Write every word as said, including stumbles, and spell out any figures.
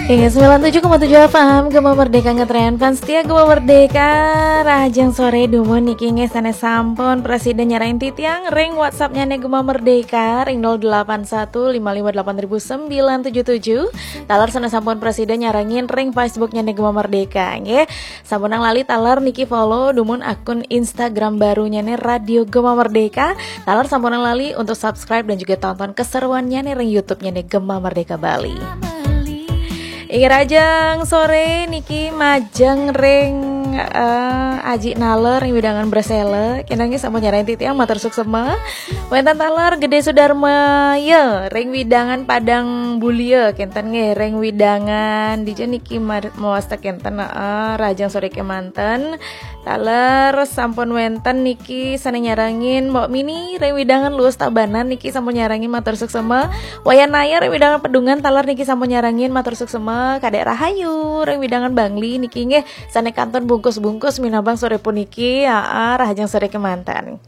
Ingat sembilan tujuh koma tujuh F M Gema Merdeka, ngetren fans setia Gema Merdeka. Rahajeng sore dumun niki nggih, sané sampun prasida nyarengin titiang ring WhatsApp-nyané Gema Merdeka ring nol delapan satu lima lima delapan ribu sembilan tujuh tujuh. Taler sané sampun prasida nyarengin ring Facebook-nyané Gema Merdeka nggih. Sampunang lali taler niki follow dumun akun Instagram barunyané Radio Gema Merdeka. Taler sampunang lali untuk subscribe dan juga tonton keseruannyané ring YouTube-nyané Gema Merdeka Bali. Inggih, rahajeng sore niki majeng ring, eh, Aji Naler ring wewidangan Bresele. Kénten nggih sampun nyarengin titiang, matur suksma. Wénten taler Gedé Sudarmaya ring wewidangan Padang Bulia, kénten nggih ring wewidangan dija niki mar-, mawasta kénten, heeh, rahajeng sore kémanten. Taler sampun wénten niki sané nyarengin, Mbok Mini ring wewidangan Luwus Tabanan niki sampun nyarengin, matur suksma. Wayan Naya ring wewidangan Pedungan taler niki sampun nyarengin, matur suksma. Kadék Rahayu ring wewidangan Bangli niki nggih sané kantun bungkus-bungkus minabang sore puniki. Aa, rahajeng sore kémanten.